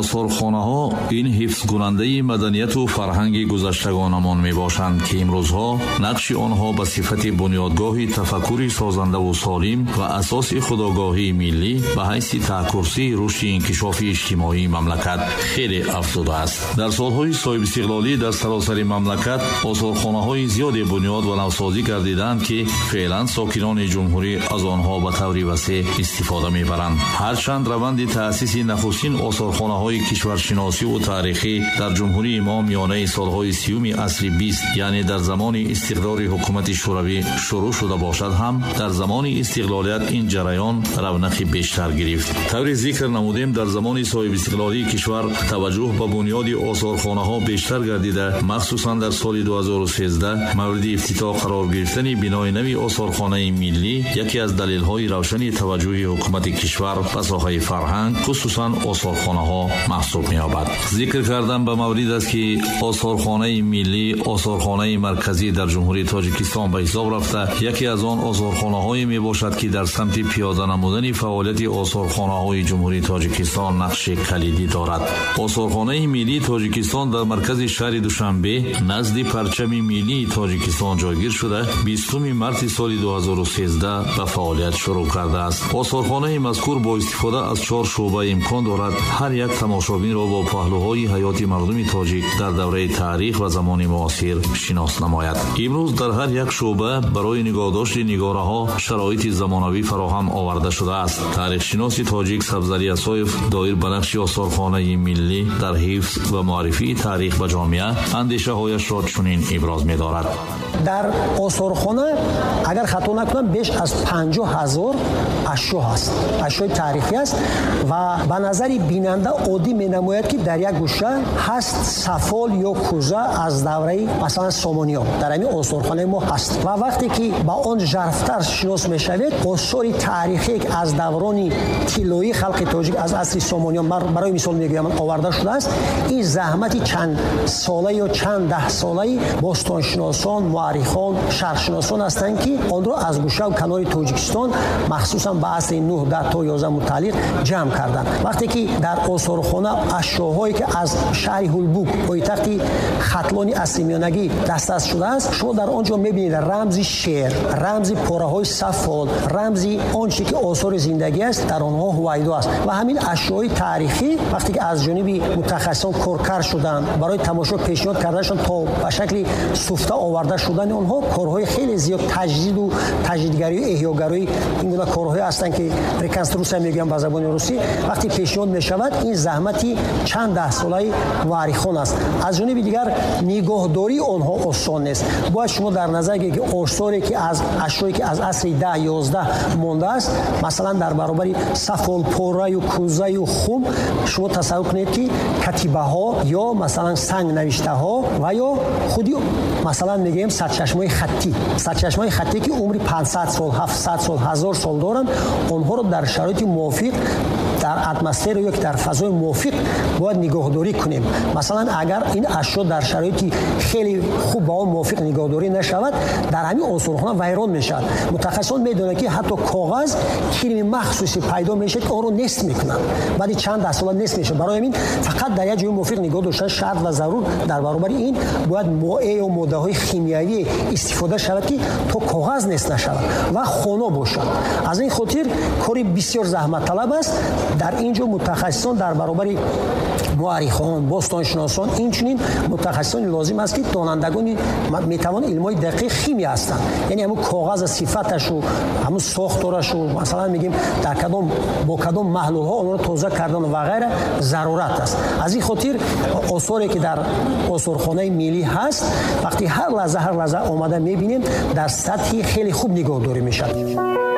Осорхонаҳо ин ҳифзкунандаи маданияту фарҳанги гузаштагонамон мебошанд, ки имрӯзҳо нақши онҳо ба сифати бунёдгоҳи тафаккури созандаву солим ва асоси худогоҳии миллӣ ба ҳайси таҳкурсии рушди инкишофи иҷтимоии мамлакат хеле афзудааст. Дар солҳои соҳибистиқлолӣ дар саросари мамлакат осорхонаҳои зиёде бунёд ва навсозӣ гардиданд, ки феълан сокинони ҷумҳурӣ аз онҳо ба таври васеъ истифода мебаранд. Ҳарчанд раванди таъсиси нахустин осорхонаҳои кишваршиносиву таърихӣ дар ҷумҳурии мо миёнаи солҳои 30-уми асри 20, яъне дар замони истиқдори ҳукумати шӯравӣ шурӯъ шуда бошад ҳам, дар замони истиқлолият ин ҷараён равнақи бештар гирифт. Таври зикр намудем, дар замони соҳибистиқлолии кишвар таваҷҷӯҳ ба бунёди осорхонаҳо бештар гардида, махсусан дар соли 2013 мавриди ифтитоҳ қарор гирифтани бинои нави осорхонаи миллӣ яке аз далелҳои равшани таваҷҷӯҳи ҳукумати кишвар ба соҳаи фарҳанг, хусусан осорхонаҳо маҳсуб меёбад. Зикр кардан ба маврид аст, ки осорхонаи миллӣ осорхонаи марказӣ дар ҷумҳурии Тоҷикистон ба ҳисоб рафта, яке аз он осорхонаҳое мебошад, ки дар самти пиёда намудани фаъолияти осорхонаҳои ҷумҳурии Тоҷикистон нақши калидӣ дорад. Осорхонаи миллии Тоҷикистон дар маркази шаҳри Душанбе назди парчами миллии Тоҷикистон ҷойгир шуда, 20 марти соли 2013 ба фаъолият шурӯъ кардааст. Осорхонаи мазкур бо истифода аз 4 шӯъба имкон дорад ҳар як тамошобинро бо паҳлӯҳои ҳаёти мардуми тоҷик дар давраи таърих ва замони муосир шинос намояд. Имрӯз дар ҳар як шӯъба барои нигоҳдошти нигораҳо шароити замонавӣ фароҳам оварда шудааст. Таърихшиноси тоҷик Сабзалӣ Асоев доир ба нақши осорхонаи миллӣ дар ҳифз ва муаррифии таърих ба ҷомеа андешаҳояшро чунин иброз медорад. Дар осорхона, агар хато накунам, беш аз 50 000 ашё ҳаст, ашёи таърихӣ аст ва ба назари бинанда оддӣ менамояд, ки дар як гӯша ҳаст сафол ё кӯза аз давраи, масалан, Сомониён дар ҳамин осорхонаи мо ҳаст. Ва вақте ки ба он жарфтар шинос мешавед, осори таърихие, ки аз даврони тиллоии халқи тоҷик, аз асри Сомониён, барои мисол мегӯям, оварда шудааст, ин заҳмати чанд сола ё чанд даҳсолаи бостоншиносон, муаррихон, шарқшиносон ҳастанд, ки онро аз гӯшаву канори Тоҷикистон, махсусан ба асри 9, 10 то 11 мутааллиқ, ҷамъ карданд. Вақте ки дар осорхона ашёҳое, ки аз шаҳри Ҳулбук, пойтахти Хатлони асри миёнагӣ, дастрас шудааст, шумо дар он ҷо мебинед рамзи шер, рамзи пораҳои сафол, рамзи он чизе, ки осори зиндагӣ аст, дар онҳо ҳувайдо аст. Ва ҳамин ашёҳои таърихӣ, вақте ки аз ҷониби мутахассисон коркард шуданд, барои тамошо пешниҳод карданашон то ба шакли суфта оварда шудани онҳо корҳои хеле зиёд, таҷдиду таҷдидгарию эҳёгарии, ин гуна корҳое ҳастанд, ки реконструксия мегӯям ба забони русӣ, вақте пешниҳод мешавад, ин заҳмати чанд даҳсолаи муаррихон аст. Аз ҷониби дигар, нигоҳдории онҳо осон нест. Бояд шумо дар назар гиред, ки осоре, ки аз ашёе, ки аз асри 10, 11 мондааст, масалан, дар баробари сафолпораю кӯзаю хум, шумо тасаввур кунед, ки катибаҳо ё, масалан, сангнавиштаҳо ва ё худи, масалан, мегӯем, сарчашмаҳои хаттӣ, сарчашмаҳои хаттӣ, ки умри 500 сол, 700 сол, 1000 сол доранд, онҳоро дар шароити мувофиқ, дар атмосфера ё ки дар фазои мувофиқ бояд нигоҳдорӣ кунем. Масалан, агар ин ашё дар шароити хеле хуб ба он мувофиқ нигоҳдорӣ нашавад, дар ҳамин осорхона вайрон мешавад. Мутахассисон медонанд, ки ҳатто коғаз кирми махсусе пайдо мешавад, ки онро нест мекунанд, баъди чанд даҳсола нест мешавад. Барои ҳамин фақат дар як ҷои мувофиқ нигоҳ доштан шарт ва зарур. Дар баробари ин бояд моеъ ё моддаҳои химиявӣ истифода шавад, ки то коғаз нест нашавад ва хоно бошад. Аз ин хотир кори бисёр заҳматталаб аст. Дар ин ҷо мутахассисон дар баробари муаррихон, бостоншиносон, инчунин мутахассисони лозим аст, ки донандагони, метавон, илмҳои дақиқ, химия ҳастанд, яъне ҳамун коғаза сифаташу, ҳамун сохторашу, масалан, мегӯем, дар кадом, бо кадом маҳлулҳо онро тоза кардан ва ғайра зарурат аст. Аз ин хотир осоре, ки дар осорхонаи миллӣ ҳаст, вақти ҳар лаҳза, ҳар лаҳза омада мебинем, дар сатҳи хеле хуб нигоҳдорӣ мешавад.